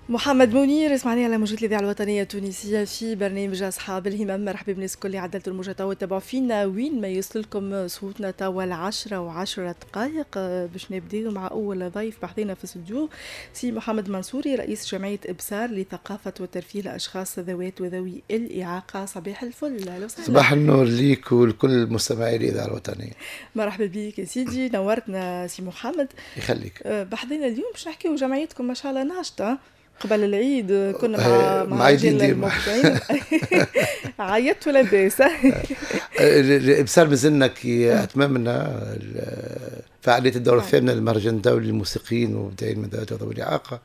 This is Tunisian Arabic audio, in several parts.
محمد منير اسمعني على موجات الإذاعة الوطنية التونسية في برنامج أصحاب الهمم. مرحبا بالناس الكل اللي عدلتوا الموجة توا تبعوا فينا وين ما يوصل لكم صوتنا. توا 10:10 باش نبداو مع أول ضيف بحذنا في الاستوديو، سي محمد منصوري رئيس جمعية إبصار لثقافة وترفيه الأشخاص ذوات وذوي الإعاقة. صباح الفل. أهلا وسهلا. صباح النور ليك ولكل مستمعي الإذاعة الوطنية. مرحبا بك يا سيدي، نورتنا سي محمد. يخليك. بحذنا اليوم باش نحكيو جمعيتكم ما شاء الله ناشطة. قبل العيد كنا مع رجال المبدعين عيطت لاباس. الابصار مازلنا كي اتممنا فعالية الدورة الثامنة للمهرجان الدولي للموسيقيين ومبدعين من ذوات وذوي الاعاقة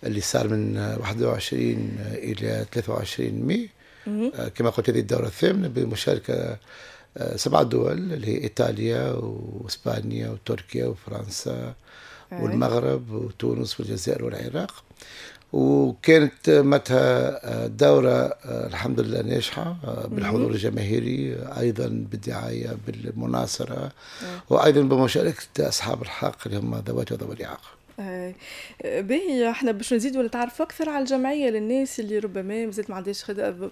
اللي صار من 21 الى 23 ماي. كما قلت هذه الدورة الثامنة بمشاركة 7 دول اللي هي ايطاليا واسبانيا وتركيا وفرنسا والمغرب وتونس والجزائر والعراق. وكانت متى دورة الحمد لله ناجحة بالحضور الجماهيري، أيضا بالدعاية بالمناصرة، وأيضا بمشاركة أصحاب الحق اللي هم ذوات وذوي الإعاقة. باهي، احنا باش نزيدوا نتعرفوا اكثر على الجمعية للناس اللي ربما مازالت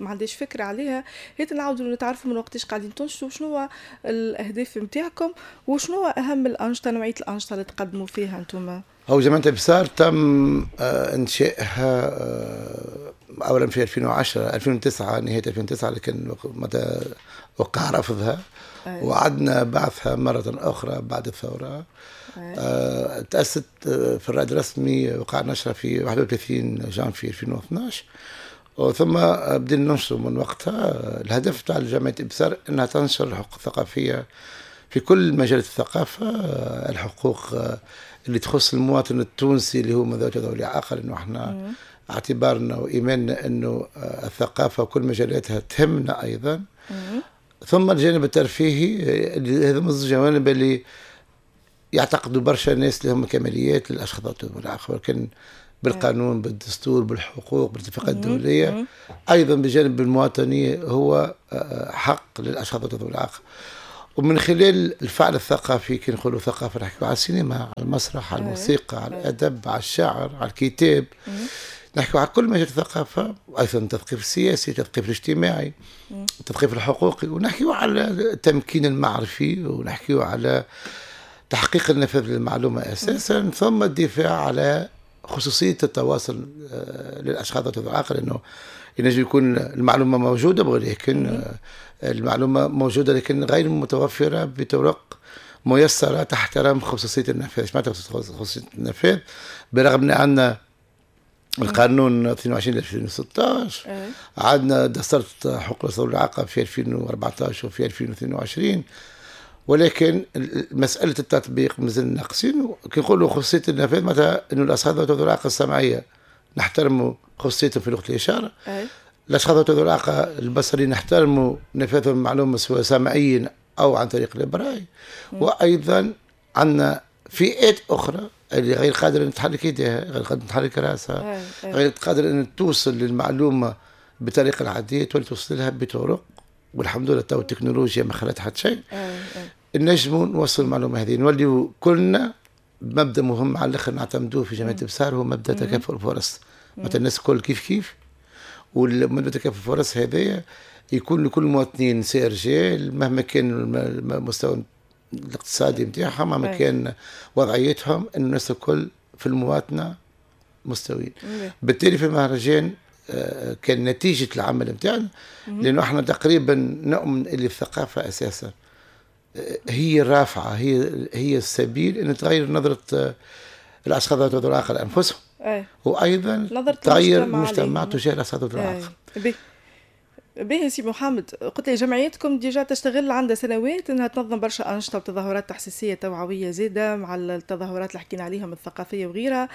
ما عندهاش فكرة عليها، هي نعاودوا نتعرفوا من وقتاش قاعدين تنشطوا، شنو الاهداف نتاعكم وشنو اهم الانشطة، نوعية الانشطة اللي تقدموا فيها انتم. هو جمعية إبصار تم انشائها اولا في 2010 2009 نهاية 2009، لكن متى وقع رفضها وعدنا بعثها مرة اخرى بعد الثورة. تأسست في الرائد الرسمي، وقع نشرها في 31 جانفي 2012، وثم بدينا ننشر من وقتها. الهدف تاع جمعية إبصار انها تنشر الحقوق الثقافية في كل مجالات الثقافة، الحقوق اللي تخص المواطن التونسي اللي هو من ذوات وذوي الإعاقة، لأنه احنا اعتبارنا وإيماننا أنه الثقافة وكل مجالاتها تهمنا أيضا. ثم الجانب الترفيهي، هذا من الجوانب اللي يعتقدوا برشا ناس اللي هم كماليات للأشخاص ذوي الإعاقة، ولكن بالقانون بالدستور بالحقوق بالاتفاقات الدولية أيضا بجانب المواطنية هو حق للأشخاص ذوي الإعاقة. ومن خلال الفعل الثقافي، كي نقولوا ثقافة نحكيو على السينما، على المسرح، على الموسيقى، على الأدب، على الشعر، على الكتاب، نحكيو على كل مجال الثقافة، وأيضا التثقيف السياسي، التثقيف الاجتماعي، التثقيف الحقوقي، ونحكيو على التمكين المعرفي، ونحكيو على تحقيق النفاذ للمعلومة أساسا، ثم الدفاع على خصوصية التواصل للأشخاص ذوي الإعاقة، لأنه ينجم يكون المعلومة موجودة ولكن المعلومة موجودة لكن غير متوفرة بطرق ميسرة تحترم خصوصية النفاذ. معناتها خصوصية النفاذ؟ برغم أن عندنا القانون 22 2016، عندنا دستورة حقوق ذوي الإعاقة في 2014 وفي 2022، ولكن مسألة التطبيق مازلنا ناقصين. كي نقولوا خصوصية النفاذ معناتها أنه الأشخاص ذوي الإعاقة السمعية نحترموا خصوصيتهم في لغة الإشارة، الأشخاص ذوي الإعاقة البصريين نحترموا نفاذهم المعلومة سواء سمعيا أو عن طريق الإبراي، وأيضا عندنا فئات أخرى اللي غير قادرة أن تحرك يديها، غير قادرة أن تحرك رأسها، غير قادرة أن توصل للمعلومة بطريقة العادية، تولي توصل لها بطرق، والحمد لله تو التكنولوجيا ما خلت حتى شيء، نجموا نوصل المعلومة هذه. نوليو كلنا بمبدأ مهم على الآخر نعتمدوه في جمعية إبصار، هو مبدأ تكافؤ الفرص، مثلا الناس الكل كيف كيف، والمبدأ تكافؤ الفرص هذايا يكون لكل المواطنين سي رجال مهما كان المستوى الاقتصادي نتاعهم، مهما كان وضعيتهم، ان الناس الكل في المواطنة مستويين. بالتالي في المهرجان كان نتيجة العمل نتاعنا، لانه احنا تقريبا نؤمن اللي الثقافة اساسا هي الرافعه، هي السبيل ان تغير نظره الاشخاص ذوي الاعاقة لانفسهم، وايضا تغير المجتمع تجاه الاشخاص ذوي الاعاقة. باهي سي محمد، قلت لي جمعيتكم déjà تشتغل عندها سنوات انها تنظم برشا انشطة وتظاهرات تحسيسيه توعوية زاده مع التظاهرات اللي حكينا عليهم الثقافية وغيرها،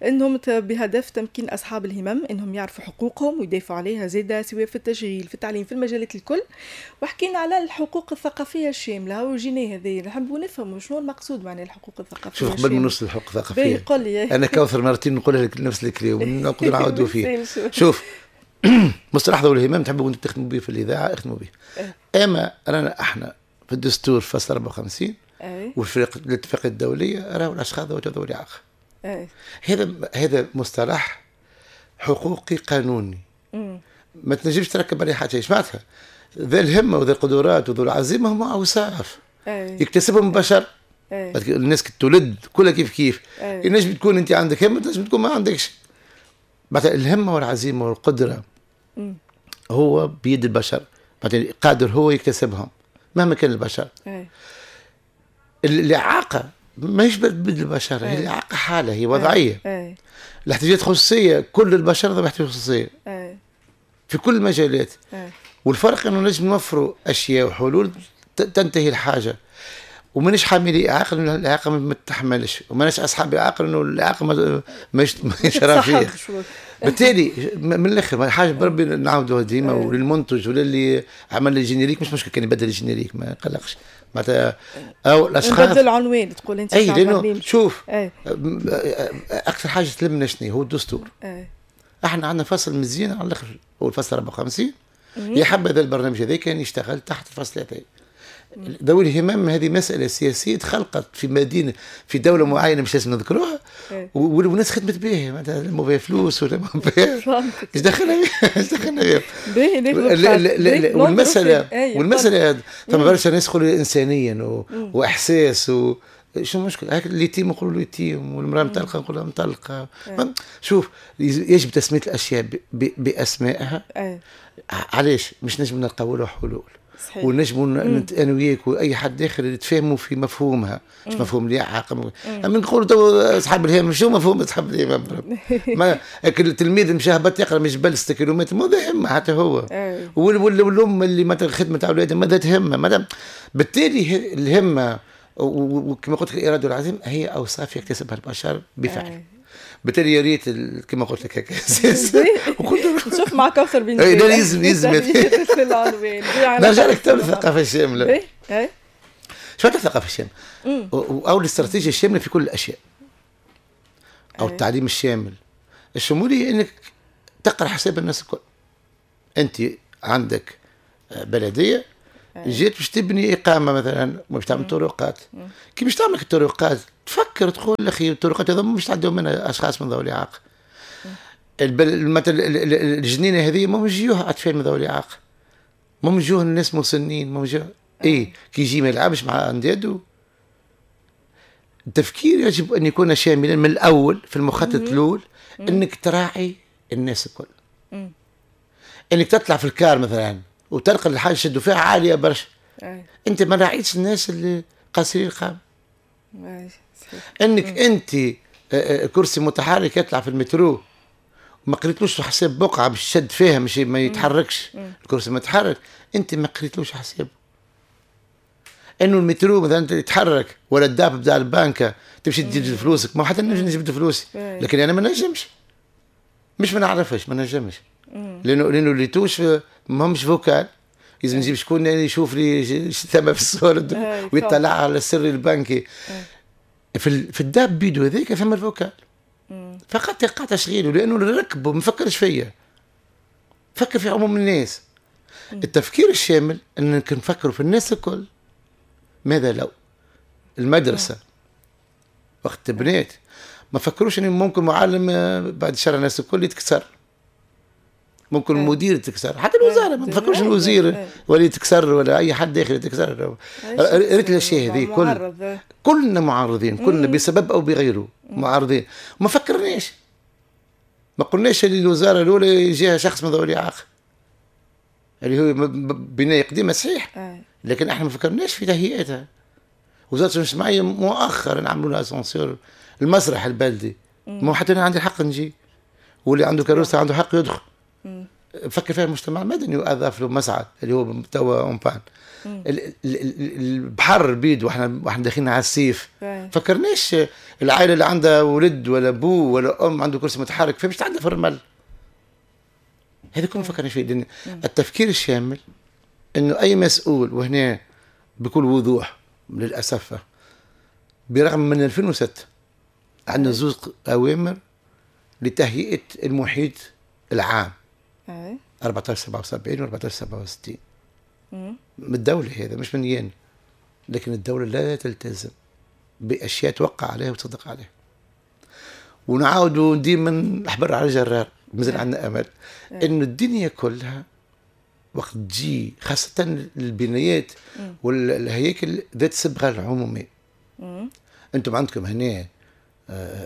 انهم بهدف تمكين اصحاب الهمم انهم يعرفوا حقوقهم ويدافعوا عليها زاده، سواء في التشغيل في التعليم في المجالات الكل. وحكينا على الحقوق الثقافية الشاملة وجينا هذه نحبوا نفهموا شنو المقصود معنى الحقوق الثقافية. شوف قبل ما نوصل للحقوق الثقافية قل لي انا كوثر مرتين نقول لك نفس الكلام ونقدر نعاودوا فيه. شوف مصطلح ذوي الهمم تحبوا انتم تخدموا به في الاذاعة اخدموا به، اما رانا احنا في الدستور فصل 54 وفي الاتفاقية الدولية راهو الاشخاص ذوي الاعاقة. هذا مصطلح حقوقي قانوني. ما تنجمش تركب عليه حاجة. ايش معناتها؟ ذا الهمه وذا القدرات وذو العزيمة هم اوصاف يكتسبهم البشر. الناس كي تولد كلها كيف كيف. ينجم تكون انت عندك همه، تنجم تكون ما عندكش. معناتها الهمه والعزيمة والقدرة هو بيد البشر، معناتها قادر هو يكتسبهم مهما كان البشر. الاعاقة ماهيش بيد البشر، هي الاعاقة حاله، هي وضعية. الاحتياجات الخصوصية كل البشر ذو احتياجات خصوصية في كل المجالات. والفرق انه نجم نوفروا اشياء وحلول تنتهي الحاجة، ومانيش حاملي اعاقه انه الاعاقة ما تحملش، ومانيش اصحاب اعاقه انه الاعاقة ماهيش رافيه. بالتالي من الاخر حاجة بربي نعاودوها ديما، وللمنتج وللي عمل ال générique مش مشكل كان يبدل ال générique ما يقلقش معناتها، او الاشخاص نبدل العنوان تقول انت. اي لانه شوف اكثر حاجة تلمنا شنو هو الدستور. احنا عندنا فصل مزيان على الاخر هو الفصل 54. يا حبذا البرنامج هذا كان يشتغل تحت الفصل هذا. ذوي الهمم هذه مسألة سياسية تخلقت في مدينة في دولة معينة مش لازم نذكروها، والناس خدمت بها معناتها لموا بها فلوس ولا بها ايش دخلنا ايش دخلنا بها. والمسألة ثم برشا ناس يقولوا إنسانيا وإحساس شو المشكل؟ هاك اليتيم نقولوا له يتيم، والمرأة مطلقة نقولوا لها مطلقة. شوف يجب تسمية الأشياء بأسمائها. علاش؟ مش نجم نلقاو له حلول. صحيح. ونجموا انا وياك واي حد داخل يتفاهموا في مفهومها، مش مفهوم الاعاقة. اما نقولوا تو اصحاب الهمم شو مفهوم اصحاب الهمم؟ ما التلميذ مشى هبط يقرا من جبل 6 كيلومتر ما ذا همه حتى هو. والام اللي مثلا خدمة اولادها ما ذات همه. بالتالي الهمه وكما قلت لك الارادة والعزيمة هي اوصاف يكتسبها البشر بفعل. بالتالي يا ريت كما قلت لك هكا نشوف مع كوثر بن لا لازم نرجع لك تو للثقافة الشاملة. شو الثقافة الشاملة؟ او الاستراتيجية الشاملة في كل الاشياء، او التعليم الشامل. الشمولية انك تقرا حساب الناس الكل. انت عندك بلديه جيت باش تبني اقامه مثلا، باش تعمل طرقات. كي باش تعمل الطرقات تفكر تقول اخي الطرقات هذا مش تعدوا منها اشخاص من ذوي الاعاقة. مثلا الجنينة هذه ما يجيوها اطفال من ذوي الاعاقة، ما يجوها الناس مسنين، ما يجوها اي كي يجي ما يلعبش مع انداده. التفكير يجب ان يكون شاملا من الاول في المخطط الاول، انك تراعي الناس الكل. انك تطلع في الكار مثلا وتلقى الحاجة شدوا فيها عالية برشا، انت ما راعيتش الناس اللي قاصرين القامة. انك انت كرسي متحرك يطلع في المترو ما قريتلوش حساب بقعة باش شد فيها مش ما يتحركش الكرسي متحرك، انت ما قريتلوش حساب انه المترو مثلا يتحرك ولا ال DAB بتاع البنكه تمشي تجيب فلوسك. ما حتى نجم نجبد فلوسي، لكن انا ما نجمش، مش ما نعرفش، ما نجمش، لانه les touches ماهمش vocales، لازم نجيب شكون يشوف لي ثم في الصورة ويطلع على السر البنكي. في ال DAB بيدو هذاك فما ال vocal فقط يقع تشغيله، لانه اللي ركبه ما فكرش فيا، فكر في عموم الناس. التفكير الشامل انك نفكروا في الناس الكل. ماذا لو المدرسة وقت بنات ما فكروش ان ممكن معلم بعد شهر الناس الكل يتكسر، ممكن المدير يتكسر، حتى الوزارة ما تفكروش الوزير ولا يتكسر ولا اي حد داخل يتكسر. ريت الاشياء هذه كلنا معرضين، كلنا بسبب او بغيره معرضين. ما فكرناش، ما قلناش اللي الوزارة الاولى يجيها شخص من ذوي الاعاقة اللي هو بناية قديمة صحيح، لكن احنا ما فكرناش في تهيئتها. وزارة الشؤون الاجتماعية مؤخرا عملوا لها اسانسير. المسرح البلدي ما حتى انا عندي الحق نجي، واللي عنده كروسه عنده حق يدخل. فكر فيها المجتمع المدني واضاف له مصعد اللي هو توا en panne. البحر بيد واحنا داخلين على السيف، فكرناش العائلة اللي عندها ولد ولا بو ولا ام عنده كرسي متحرك فمش تعدى في الرمل. هذا كله ما فكرناش فيه. التفكير الشامل انه اي مسؤول، وهنا بكل وضوح للاسف برغم من 2006 عندنا زوج اوامر لتهيئه المحيط العام 1477 و 1467 من الدولة، هذا مش من ين، لكن الدولة لا تلتزم بأشياء توقع عليها وتصدق عليها. ونعاودوا ديما نحبر على الجرار. مازال عندنا امل انه الدنيا كلها وقت تجي، خاصة البنايات والهياكل ذات الصبغه العمومية. انتم عندكم هنا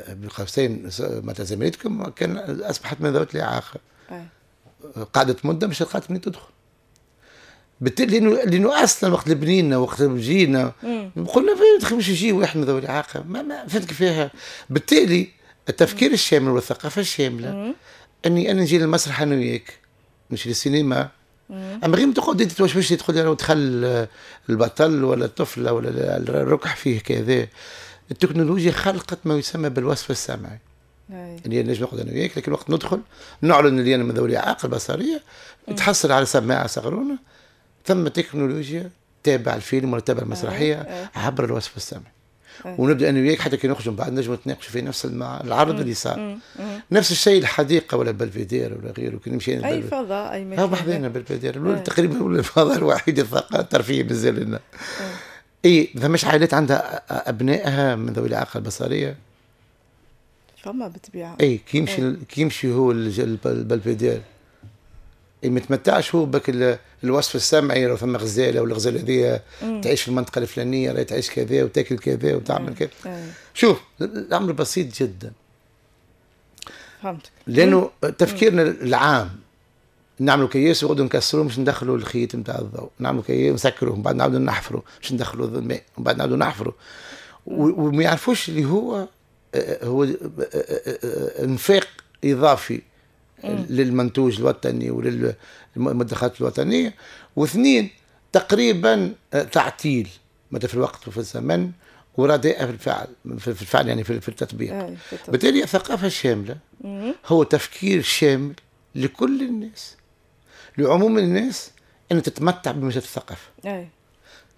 بالقوسين معناتها زميلتكم كان اصبحت من ذوات الاعاقة، قعدت مده مش لقات منين تدخل. بالتالي لانه اصلا وقت بنينا وقت جينا قلنا مش يجي واحد من ذوي الاعاقة، ما فهمت كيفاها. بالتالي التفكير الشامل والثقافة الشاملة اني انا نجي للمسرح انا وياك، نمشي للسينما، اما غير ما تقعد انت توشوش تدخل لو دخل البطل ولا الطفلة ولا الركح فيه كذا. التكنولوجيا خلقت ما يسمى بالوصف السمعي، اللي نجم نقعد انا وياك، لكن وقت ندخل نعلن اللي انا من ذوي الاعاقة البصرية، تحصل على سماعه صغرونه، ثم تكنولوجيا تابع الفيلم ولا تابع المسرحية عبر الوصف السمعي. ونبدا انا وياك حتى كي نخرج من بعد نجم نتناقشوا في نفس العرض اللي صار. نفس الشيء الحديقة ولا البلفيدير ولا غيره، كي نمشي اي فضاء اي مكان بحذانا بلفيدير تقريبا هو الفضاء الوحيد الترفيهي مازال لنا. اي ثماش عائلات عندها ابنائها من ذوي الاعاقة البصرية؟ فما بالطبيعة. اي كي يمشي هو البلفيدير ما يتمتعش هو بك الوصف السمعي، لو ثم غزاله والغزاله هذه تعيش في المنطقة الفلانية، راهي تعيش كذا وتاكل كذا وتعمل كذا. شوف الامر بسيط جدا. فهمتك. لانه تفكيرنا العام نعملوا كياس وغدو نكسروه باش ندخلوا الخيط نتاع الضوء، نعملوا كياس نسكروه ومن بعد نعاودوا نحفروا باش ندخلوا الماء ومن بعد نعاودوا نحفروا، وما يعرفوش اللي هو هو انفاق اضافي للمنتوج الوطني وللمدخرات الوطنية، واثنين تقريبا تعطيل متى في الوقت وفي الزمن ورداء في الفعل، في الفعل يعني في التطبيق. بالتالي الثقافة الشاملة هو تفكير شامل لكل الناس، لعموم الناس، ان تتمتع بمجال الثقافة.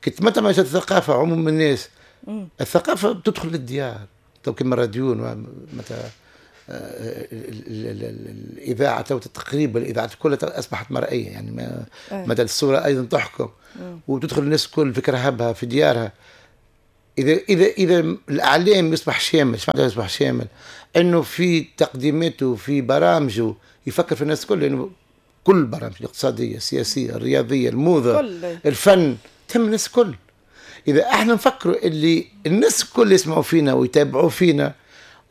كي تتمتع بمجال الثقافة عموم الناس، الثقافة بتدخل للديار، تو كما الراديو مثلا الاذاعة تقريبا الاذاعات كلها اصبحت مرئية، يعني مدى الصورة ايضا تحكم وتدخل الناس الكل في كرهبها في ديارها. اذا الاعلام يصبح شامل، ايش معناتها يصبح شامل؟ انه في تقديماته في برامجه يفكر في الناس الكل، لانه كل البرامج الاقتصادية السياسية الرياضية الموضة الفن تهم الناس الكل. اذا احنا نفكروا اللي الناس الكل يسمعوا فينا ويتابعوا فينا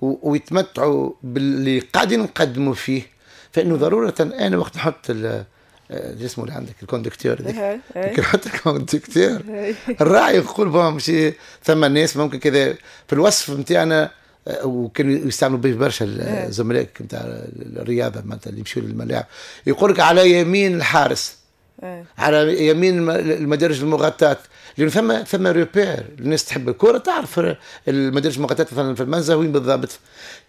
ويتمتعوا باللي قاعدين نقدموا فيه، فانه ضرورة انا وقت نحط اسمه اللي عندك ال conducteur هذيك، كي نحط ال conducteur الراعي يقول bon ماشي ثم ناس ممكن كذا في الوصف نتاعنا، وكانوا يستعملوا به برشا الزملاء نتاع الرياضة معناتها اللي يمشوا للملاعب، يقول لك على يمين الحارس، على يمين المدارج المغطاة، لأنه ثم repère، الناس تحب الكرة تعرف المدارج المغطاة مثلا في المنزه وين بالضبط.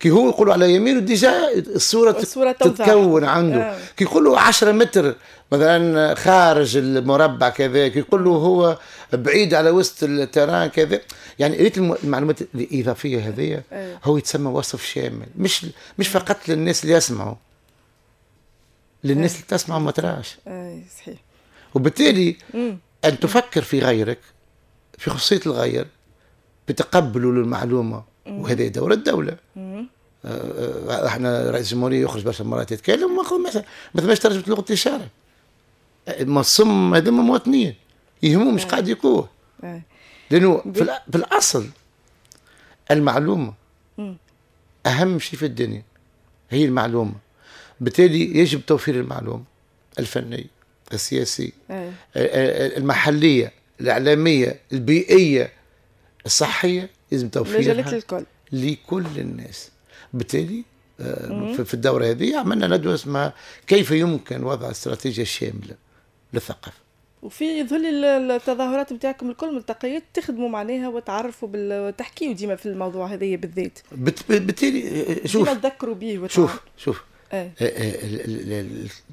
كي هو يقولوا على يمينه déjà الصورة تتكون عنده. كي يقولوا 10 متر مثلا خارج المربع كذا، كي يقولوا هو بعيد على وسط ال terrain كذا، يعني ريت المعلومات الإضافية هذه هو يتسمى وصف شامل، مش فقط للناس اللي يسمعوا، للناس اللي تسمع وما تراش. صحيح. وبالتالي أن تفكر في غيرك، في خصوصية الغير، بتقبله للمعلومة، وهذا دور الدولة. احنا رئيس الجمهورية يخرج برشا مرات يتكلم، ما ثماش ترجمة لغة الإشارة. ما الصم هذوما مواطنين يهمهم مش قاعد يقوه، لأنه في الأصل المعلومة أهم شيء في الدنيا هي المعلومة. بالتالي يجب توفير المعلومة الفنية السياسية المحلية الإعلامية البيئية الصحية، لازم توفيرها لكل الناس. بالتالي في الدورة هذه عملنا ندوة اسمها كيف يمكن وضع استراتيجية شاملة للثقافة. وفي يظهر لي التظاهرات نتاعكم الكل ملتقيات تخدموا معناها وتعرفوا وتحكيوا ديما في الموضوع هذايا بالذات. بالتالي شوف ديما تذكروا به. شوف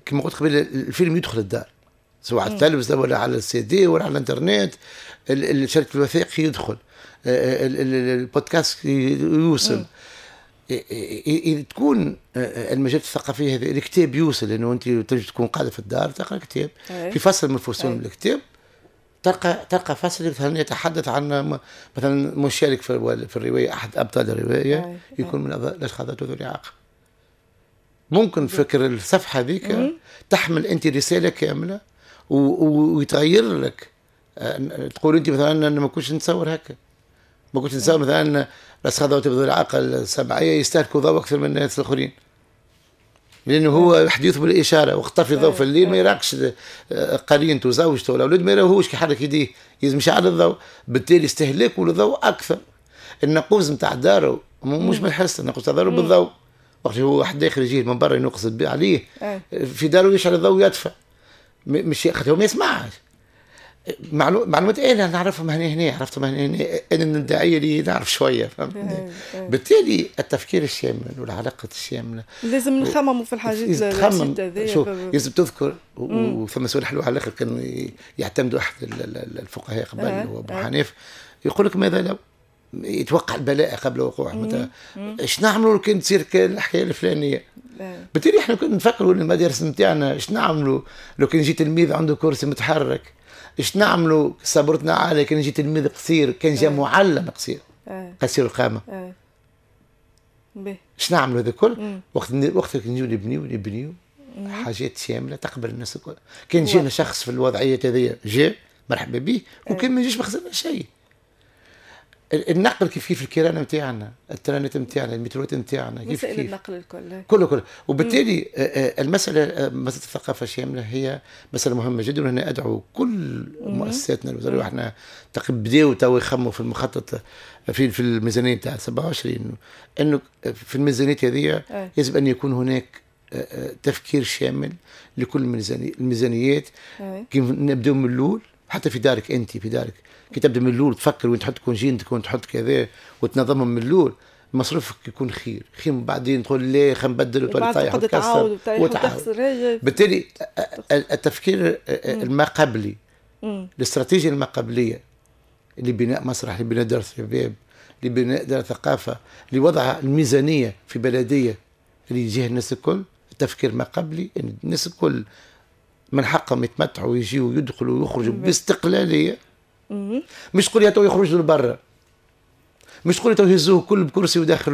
كما قلت قبل، الفيلم يدخل الدار سواء على التلفزة ولا على السي دي ولا على الانترنت، الشركة الوثائقي يدخل، البودكاست يوصل. تكون المجالات الثقافية هذه، الكتاب يوصل، لانه انت تنجم تكون قاعدة في الدار تقرا كتاب، في فصل من فصول من الكتاب تلقى فصل مثلا يتحدث عن مثلا مشارك في الرواية، احد ابطال الرواية يكون من الاشخاص ذوي الاعاقة. ممكن فكر الصفحة هذيك تحمل انت رسالة كاملة ويتغير لك. تقول انت مثلا انا ما كنتش نتصور هكا، ما كنتش نتصور مثلا الاشخاص ذوي الاعاقة السمعية يستهلكوا ضوء اكثر من الناس الاخرين، لانه هو حديث بالاشاره، وقت طفي الضوء في الليل ما يراقش قرينته زوجته ولا اولاد، ما يراهوش كي يحرك يديه، لازم يشعل الضوء، بالتالي استهلاكه للضوء اكثر. النقوز نتاع داره مش بالحس، النقوز نتاع داره بالضوء، وقت هو واحد داخل يجي من برا ينقص عليه في داره يشعل الضوء ويدفى، مش خاطر هو ما يسمعش. معلومات انا نعرفهم هنا هنا، عرفتهم هنا هنا، انا الداعية اللي نعرف شويه، فهمتني؟ بالتالي التفكير الشامل والعلاقة الشاملة لازم نخمموا في الحاجات. تخمم، شوف، لازم تذكر. وثم سؤال حلو على الاخر كانوا يعتمدوا احد الفقهاء قبل، هو ابو حنيفه، يقول لك ماذا لو، يتوقع البلاء قبل وقوعه، مثلا ايش نعملوا لو كان تصير الحكاية الفلانيه؟ بالتالي احنا كنا نفكروا المدارس نتاعنا، ايش نعملوا لو كان يجي تلميذ عنده كرسي متحرك؟ ايش نعملوا صبرتنا عالية كان يجي تلميذ قصير، كان جاء معلم قصير، قصير القامه، ايش نعملوا هذا الكل؟ وقت نجيو نبنيو حاجات شاملة تقبل الناس الكل. كان جينا شخص في الوضعية هذه جاء مرحبا به، وكان ما يجيش ما خسرنا شيء. النقل كيف كيف، الكيران نتاعنا، الترانات نتاعنا، المتروات نتاعنا، كيف كيف النقل الكل. كله كله. وبالتالي المساله، مسالة الثقافة الشاملة هي مسالة مهمة جدا، وهنا ادعو كل مؤسساتنا الوزاريه، واحنا تقريبا بداوا تو يخموا في المخطط في الميزانية نتاع 27، انه في الميزانية هذه يجب ان يكون هناك تفكير شامل لكل الميزانيات. كيف نبداو من الاول، حتى في دارك، انت في دارك كي تبدا من الاول تفكر وين تحط كوجينتك وين تحط كذا وتنظمهم من الاول، مصروفك يكون خير خير من بعدين تقول ليه خلينا نبدل وتولي طايح وتكسر وتعاود. بالتالي التفكير الما قبلي، الاستراتيجية الما قبليه لبناء مسرح، لبناء دار شباب، لبناء دار ثقافه، لوضع الميزانية في بلديه اللي يجيها الناس الكل. التفكير ما قبلي ان الناس الكل من حقهم يتمتعوا ويجيوا ويدخلوا ويخرجوا باستقلاليه. مش تقول يا تو يخرجوا لبرا، مش تقول تو يهزوه كل بكرسي وداخل.